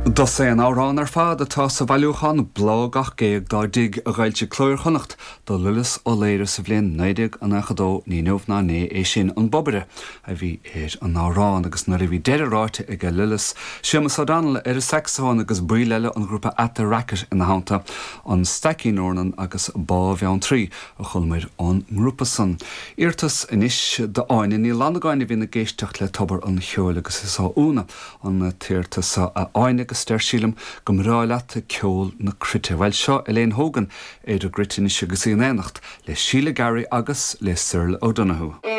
Dosaen amhrán ar fad atá sa bhailiúchán Bláth Gach Géag dá dTig a d'fhoilsigh Cló Iar-Chonnacht do Lillis Ó Laoire sa bhliain 1992, ní inniu ná inné é sin. An Bobaire a bhí ar an amhrán agus nuair a bhí deireadh ráite aige Lillis, Séamus O'Donnell ar an sacsafón agus baill eile an ghrúpa At The Racket ina theannta, An Staicín Eornan agus Bá Bheanntraí a chualamair ón ngrúpa san. Iarratas anois d'Áine Ní Fhlannagáin a bhíonn ag éisteacht le Tobar an Cheoil agus is ó Úna an t-iarratas seo a Áine agus deir sí liom go mbreá leat ceol na cruite. Bhuel seo Elaine Hogan ar an gcruit anois agus í in éineacht le Sheila Garry agus le Cyril O'Donoghue.